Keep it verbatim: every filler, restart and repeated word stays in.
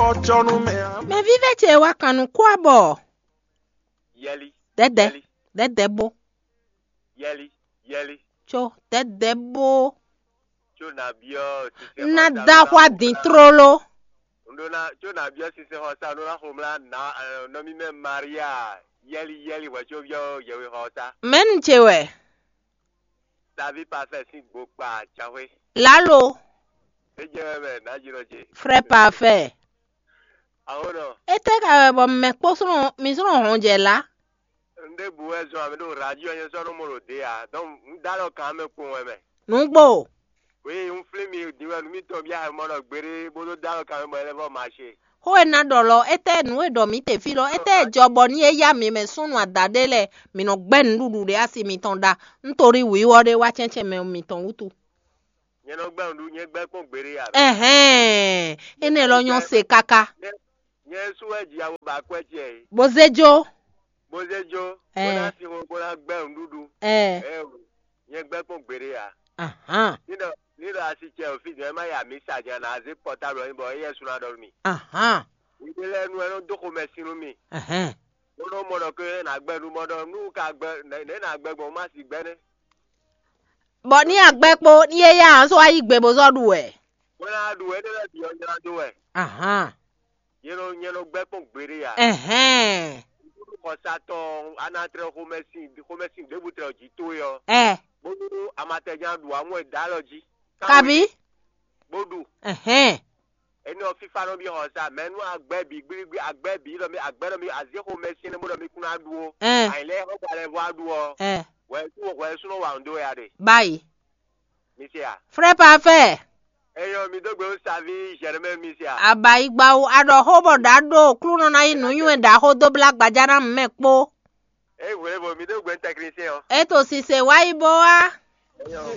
Mɛ vívɛ́ ce wá kan nú kó abɔ. Yɛli. Dɛdɛ. Yɛli. Dɛdɛ bó. Yɛli. Yɛli. Tso dɛdɛ bó. Tso nàbíɔ. Na da xwa dín tlóló. Ndo na tso nàbíɔ sísè xɔ sa ndo na xomla na nɔmí mɛ Maria. Yɛli yɛli hwɛ tso biɔ yɛwe xɔ sa. Mɛnu ce wɛ. Davi parfait sín gbokpa jahwe. Lalo. Ejɛ mɛ na jiro je. Frère parfait. Awo nɔ. Ete ka wɛ bɔ mɛ kpó sɔn mi sɔn hɔn jɛ la. Nde bu wɛ zɔn ame ɖo radio nyɛ sɔ nɔ mo ɖo de ya. Donc n da lɔ kan mɛ kpɔn wɛ mɛ. Nugbo. Oui, n flin mi din wɛ nu mi tɔn bia mɔ nɔ gbere bo do da lɔ kan mɛ bɔ ele vɔ marché. Xó e ná ɖɔ lɔ, étɛ́ nǔ e ɖɔ mǐ te fí lɔ, étɛ́ jɔ bɔ ní é yá mǐ mɛ súnnu ada ɖé lɛ́ɛ, mǐ nɔ gbɛ́ nǔɖuɖu ɖé asi mitɔn ɖa. Un to ɖi wǐwɔ ɖé wá cɛ́ncɛ́n mɛ mitɔn wútu. Nyɛ nɔ gbɛ́ nǔɖuɖu, nyɛ gbɛ́ kpɔ́n gbeɖé ya. Ɛhɛn, énɛ́ lɔ nyɔ́ se káká. Nyɛ nyɛ sú wɛ ji awo ba kwɛ tiɛ. Bó zé jó. Bó zé jó. Bó ná si xo bó ná gbɛ́ nǔɖuɖu. Ɛ. Ɛ o, nyɛ gbɛ́ kpɔ́n gbeɖé ya. Ahán. Ní ɖɔ ní ɖɔ asi cɛ o fí jɛ má ya mǐ sa jɛ ná zé pɔtáblu ɔ́ bɔ éyɛ́ sú ná ɖɔ nú mi. Ahán. Ìdí lɛ́ɛ nu ɛ nɔ dó xomɛ sin nú mi. Ahán. Bó nɔ mɔ ɖɔ ké ná gbɛ́ nú mɔ ɖɔ nú ka gbɛ́ nɛ̌ ná gbɛ́ gbɔn má si gbɛ́ nɛ́. Bɔ ní agbɛ́ kpó ní é yá hán só wá yí gbe bó zɔ́ ɖu wɛ. Bó ná ɖu wɛ énɛ́ lɛ́ɛ bǐ ɔ́ nylá dó wɛ. Ahán. Yě nɔ nyɛ nɔ gbɛ́ kpɔ́n gbeɖé ya. Ɛhɛn. Xɔsatɔn anatrɛ xomɛsin xomɛsin ɖěbǔ tlɛ jí towe ɔ́. Ɛ. Bónú amatɛján ɖu amú ɛ dá lɔ jí. Kabi. Bó ɖu. Ɛhɛn. Énɛ́ ɔ́ fífá nɔ bí xɔsa mɛ nú agbɛ́ bǐ gbígbí agbɛ́ bǐ ɖɔ mí agbɛ́ ɖɔ mí azé xomɛsin bó ɖɔ mí kún ná ɖu ó. Ɛ. Àyìnlẹ́ xɔgba lɛ vɔ aɖu ɔ́. Ɛ. Wɛ sú wɛ sú nɔ wa nǔ dó wɛ a ɖe. Báyìí. Mi se a? Frère parfait. Eyɔ mi dó gbe ó savi Germain mi se a? Abayigbawo aɖɔ xó bɔ ɖa ɖo klúnɔ ná yi nǔnywɛ ɖaxó dó blá gbaja ná mɛ kpó. Ey hwlɛ́nvo mi dó gbe technicien ɔ́. E to sise wá yi bó wá. Eyɔ.